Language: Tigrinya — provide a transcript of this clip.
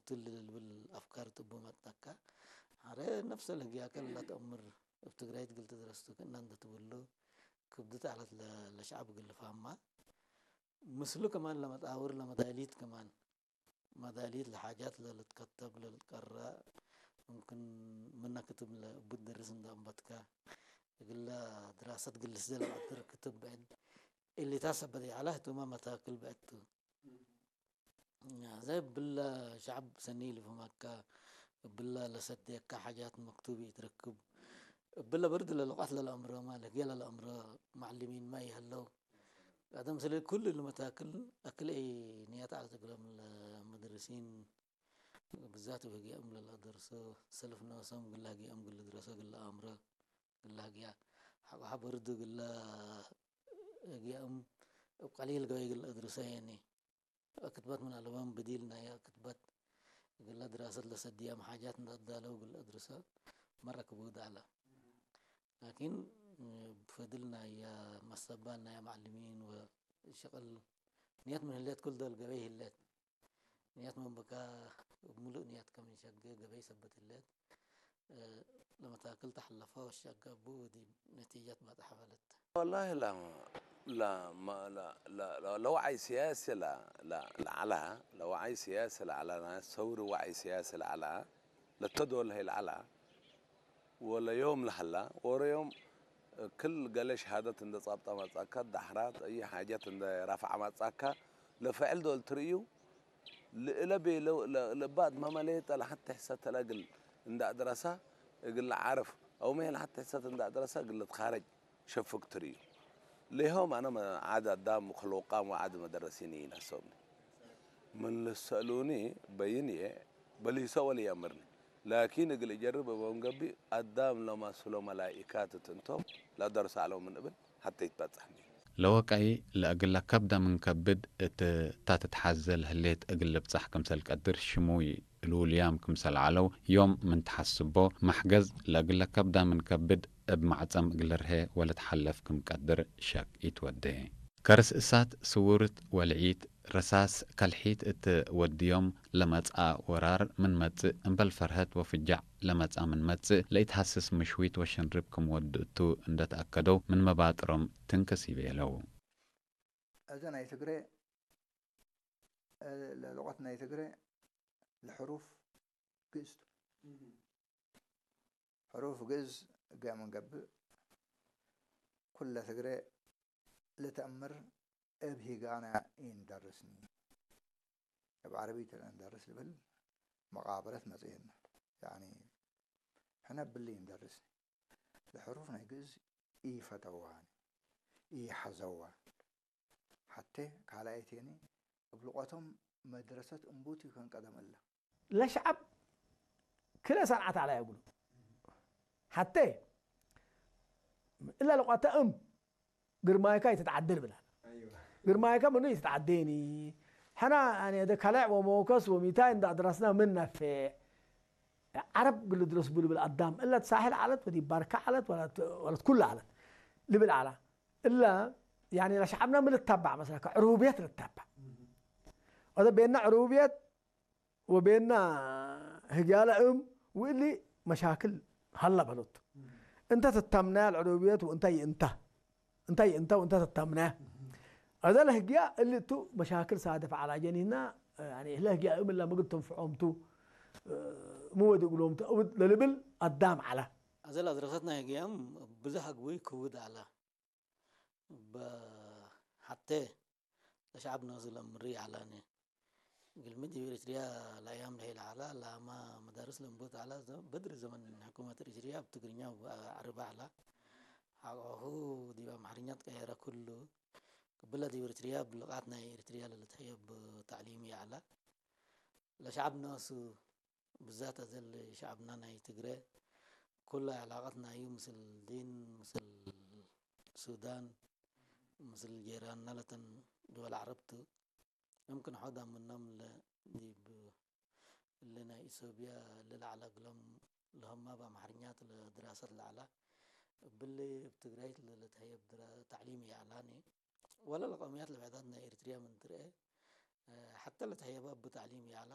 ትል ልብል ኣፍካር ጥቡ መጣካ። ሓደ ነፍሰ ለህጊያ ከላ ተእምር ኣብ ትግራይ ትግል ተድረስቱ ክእና እንደ ትብሉ ክብድት ዓለት ለ-፣ ለሸዓብ ግል ፋማ። ምስሉ ከማን ለመጣውር ለመዳሊት ከማን መዳሊት ለሓጃት ለልትከተብ ለልትቀራ ምምክን ምና ክትብ ለእቡት ደርስ እንደ ኣንበትካ እግለ ድራሰት ግልስ ዘለ ኣጥር ክትብ ብዕድ እሊታ ሰበት ይዓላ ህቱማ መታክል ብዕድቱ። ዘይ ብለ ሸዓብ ሰኒ ልፍማካ ብለ ለሰደካ ሓጃት መክቱብ ይትረክብ ብለ በርድ ለልቃት ለለኣምሮ ማለት ገለ ለኣምሮ ማዕልሚን ማ ይህለው። ቀደም ስለ ኩሉ ለመታክል ኣክል እይ ንያት ዓለት እግሎም ለመድርሲን ብዛት ወጊኦም ለለደርሶ ሰልፍ ነብሶም ግላ ጊኦም ግል ድረሶ ግል ኣምሮ ግላ ጊያ ሓቆ ሓበርዱ ግላ ጊኦም እብ ቀሊል ገበይ ግል ድርሶ የኒ። ክትባት ምን ኣለቦም ብዲል ናይ ክትባት ግላ ድራሰት ለሰድያም ሓጃት እንዳዳለው ግል ድርሶ መረ ክብውድ ኣላ። ላኪን ብፈድል ናይ መሰባል ናይ ማዕልሚን ወሸቅል ንያት ምን ህሌት ኩል ደል ገበይ ህሌት ንያት መንበካ ሙሉእ ንያት ከም ንሸገ ገበይ ሰበት ህሌት ለመታክል ተሐለፈ ወሸገቡ ወዲ ነቲጃት ባጣ ሐበለት። والله لا لا ما لا لا لا لو عايز سياسة لا لا لا على لو عايز سياسة لا على ناس ثورة وعي سياسة لا على ለተዶል ሀይል ዓላ ወለዮም ለሀላ ወረዮም ክል ገለ ሸሃደት እንደ ጻብጣ መጻካ ዳሕራት እይ ሓጀት እንደ ራፍዓ መጻካ ለፈዕል ዶል ትርእዩ ልእለ ቤ ለባድ መመለየጠ ለሐተ ሕሰተ ለግል እንደ ኣድረሳ እግል ዓርፍ ኣውሜ ለሐተ ሕሰት እንደ ኣድረሳ እግል ልትኻረጅ ሸፍግ ትርእዩ ሌሆም ኣነ ዓድ ኣዳም ክልውቃም ወዓድ መደረሲን ይነሰብኒ ምን ልሰእሉኒ በይን እየ በሊሰ ወልየምርኒ ላኪን እግል እጀርብ እበም ገቢ ኣዳም ለማስሎ መላኢካት ትንቶም ለደርሳሎ ምን እብል ሐተ ይትበጽሕኒ። ለወቀይ ለእግለ ከብዳ ምን ከብድ እት ታትትሓዘ ለህሌት እግል ልብጻሕ ክምሰል ቀድር ሽሙይ ልውልያም ክምሰል ዓለው ዮም ምን ተሓስቦ መሕገዝ ለእግለ ከብዳ ምን ከብድ እብ ማዕጸም እግል ርሄ ወለትሓለፍ ክም ቀድር ሸክ ኢትወዴ። ከርስ እሳት ስውርት ወልዒት ረሳስ ከልሒት እት ወድዮም ለመጽኣ ወራር ምን መጽእ እምበል ፈርሀት ወፍጃዕ ለመጽኣ ምን መጽእ ለኢትሃስስ ምሽዊት ወሽንርብ ክም ወዱ እቱ እንደ ተኣከደው ምን መባጥሮም ትንክስ ይቤለው። እዘ ናይ ትግሬ ለሉቀት ናይ ትግሬ ለሕሩፍ ግእዝ ቱ። ሕሩፍ ግእዝ ገ ምንገብእ ኩለ ትግሬ ልተእምር እብ ሂጋና ኢንደርስኒ። እብ ዓረቢት ለእንደርስ ልብል መቃብረት መጽእና። ያኒ ሕነ ብሊ ኢንደርስኒ። ለሕሩፍ ናይ ግእዝ ኢፈተዋኒ ኢሐዘዋ። ሐቴ ካልኣይቴኒ እብ ልቆቶም መድረሰት እምቡት ይከን ቀደም እለ። ለሸዐብ ክልኤ ሰንዓት ዐለ የብሉ። ሐቴ እለ ልቆተ እም ግርማይካ ይትትዓደ ልብል ዐለ። ግርማይካ ምኑ ይትትዓዴኒ። ሕና ያኒ እደ ካልዕ ወመወከስ ወሚታይ እንዳ ድረስና ምን ነፌዕ። ዐረብ ግል ድረስ ቡ ልብል ኣዳም እለ ሳሕል ዐለት ወዲ ባርካ ዐለት ወለት ኩላ ዐለት ልብል ዐላ። እለ ያኒ ለሸዐብና ምን ልታባዕ መስለካ ዕሩብየት ልታባዕ። ወደ ቤና ዕሩብየት ወቤና ህግያለ እም ውእሊ መሻክል ሀላ በሎቱ። እንተ ትታምናያ ለዕሩብየት ወእንታ ይእንታ እንታ ይእንታ ወእንታ ትታምናያ። አዛ ለህግያ እሊ እቱ መሻክል ሳደፍ ዐላ ጀኒህና ያኒ ለህግያ እም እላ ምግድ ተንፍዖምቱ ምወዲ እግሎምቱ እብድ ለልብል አዳም ዐላ። አዘ ለአድረሰትና ህግያም ብዘሕ አግቡይ ክውድ ዐላ። በሐቴ ለሸዐብ ነሱ ለምሪ ዐላኒ። ግልሚ ዲብ ኤሪትርያ ለአያም ለሄለ ዐላ ላማ መዳርስ ለንቡት ዐላ። በድሪ ዘመን ሕኩመት ኤሪትርያ እብ ትግርኛ ወዐረቢ ዐላ። ሐቆሁ ዲብ አምሐርኛ ትቀየረ ኩሉ። ቅብለ ዲብ ኤሪትርያ እብ ልቃት ናይ ኤሪትርያ ለልትሐየብ ተዕሊም ይዐላ። ለሸዐብ ነሱ ብዛት አዘ ለሸዐብና ናይ ትግረ ኩሉ ዐላቀት ናዩ ምስል ዲን ምስል ሱዳን ምስል ጄራንና ለተን ድወል ዐረብ ቱ። የምክን ሖዳ ምኖም እለ ዲብ እሊ ናይ ኢሶብያ እሊ ለዐለ እግሎም ለሆማ እብ አምሐርኛ ቱ ለድራሰት ለዐላ። እብሊ እብ ትግራይት ለልትሀየብ ተዕሊም ይዐላኒ። ወለ ለቀውምያት ለብዕዳት ናይ ኤሪትርያ ምን ትርኤ ሐተ ለትሀየበ እቡ ተዕሊም ይዐላ።